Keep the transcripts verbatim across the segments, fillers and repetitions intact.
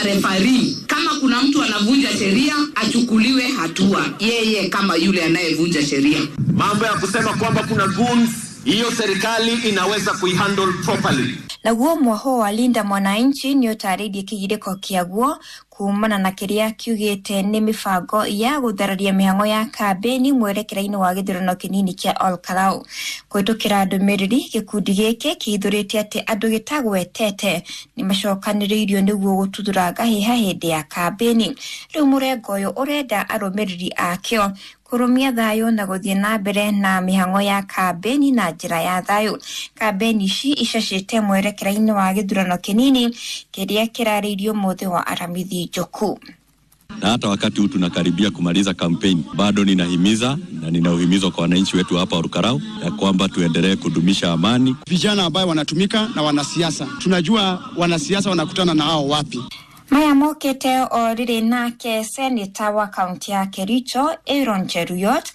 Refari, kama kuna mtu anavunja sheria achukuliwe hatua, yeye kama yule anayevunja sheria. Mambo ya kusema kwamba kuna goons, hiyo serikali inaweza kuihandle properly. Naguo mwaho wa Linda Mwananchi nĩ ũtarĩirie kĩgirĩko kĩaguo kumana na kĩrĩa kiugĩte nĩ mĩbango ya gũthararia mĩhang'o ya kambĩni mwerekera-inĩ wa gĩthurano kĩnini kĩa Olkalau. Kũhĩtũkĩra ndũmĩrĩri, gĩkundi gĩkĩ kĩhithũrĩte atĩ andũ gĩtagwetete nĩ macokanĩrĩirio nĩguo gũtuthũra ngahĩha hĩndĩ ya kambĩni. Rĩu mũrengo ũyũ ũrenda arũmĩrĩri akĩo kũrũmia thayũ na gũthiĩ na mbere na mĩhang'o ya kambĩni na njĩra ya thayũ. Kambĩni ici icacĩte mwerekera-inĩ wa gĩthurano kĩnini kĩrĩa kĩrarĩirio mũthĩ wa Aramithi Njoku. Na hata wakati huu tunakaribia kumaliza kampeni, bado ninahimiza na nina uhimizo kwa wananchi wetu hapa Olkalau ya kwamba tuendelee kudumisha amani. Vijana ambayo wanatumika na wanasiasa, tunajua wanasiasa wanakutana na hao wapi. Maya mokĩte o rĩrĩ nake seneta wa kaunti ya Kericho Aaron Cheruiyot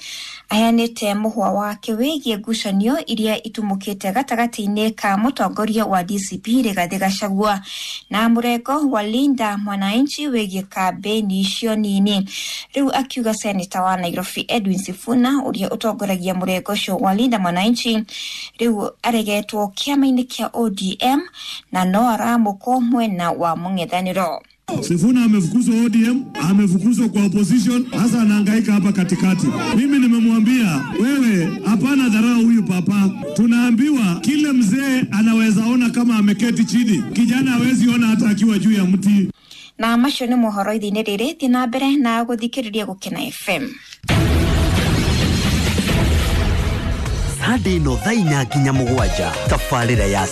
aheanĩte mũhwa wake wĩgiĩ ngucanio iria itumũkĩte gatagatĩ-inĩ ka mũtongoria wa D C P Rigathĩ Gachagua na mũrengo wa Linda Mwananchi wĩgiĩ kambĩni icio nini. Rĩu akiuga seneta wa Nairobi Edwin Sifuna ũrĩa ũtongoragia mũrengo ũcio wa Linda Mwananchi rĩu aregetwo kĩama-inĩ kĩa O D M na no aramũkwo mwena wa mũng'ethanĩro. Sifuna amefukuzwa O D M, amefukuzwa kwa opposition, sasa anahangaika hapa katikati. Mimi nimemwambia wewe, hapana dharau huyu papa. Tunaambiwa kile mzee anaweza ona kama ameketi chini, kijana hawezi ona hata akiwa juu ya mti. Na macio nĩ mohoro ithe-inĩ rĩrĩ, thiĩ na mbere na gũthikĩrĩria Gũkena F M. Sunday no thaa inya nginya mũgwanja, tabarĩra ya